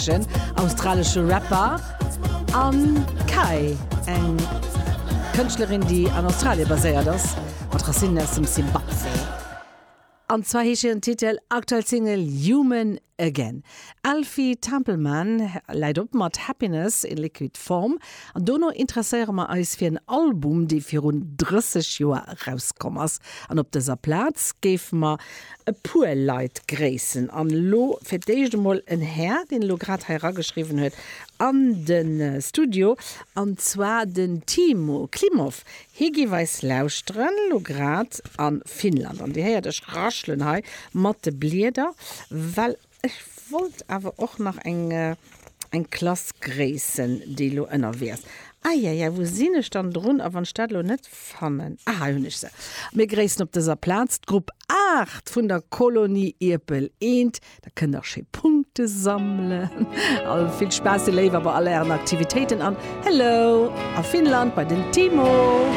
heeschen, australesche Rapper, an Kai, eng Kënschtlerin, déi an Australie baséiert ass, mat Racinnen aus dem Simbabwe. An zwar heescht hiren Titel, aktuell Single, Human Again. Alfie Templeman läit op mat Happiness in Liquid Form an dono interesséiere mer eis fir en Album, dee virun 30 Joer erauskomm ass. An op dëser Plaz géife mer e puer Leit gréissen. An elo fir d'éischt emol en Här, deen elo grad hei erageschriwwen huet an de Studio, an zwar den Timo Klimov. Hie géif eis lauschteren, elo grad a Finnland. An Dir héiert, ech raschelen hei mat de Blieder, well ech wollt awer och nach eng, eng Klass gréissen, déi elo ënnerwee ass. Eieiei, wou sinn ech dann drun? A wann ech dat elo net fannen. Ah, hei hunn ech se. Mir gréissen op dëser Plaz d'Grupp 8 vun der Kolonie Ierpel Eent. Da kënnt der schéi Punkte sammelen. All vill Spaass, dir Léiwer, bei all ären Aktivitéiten an Hello a Finnland bei den Timo!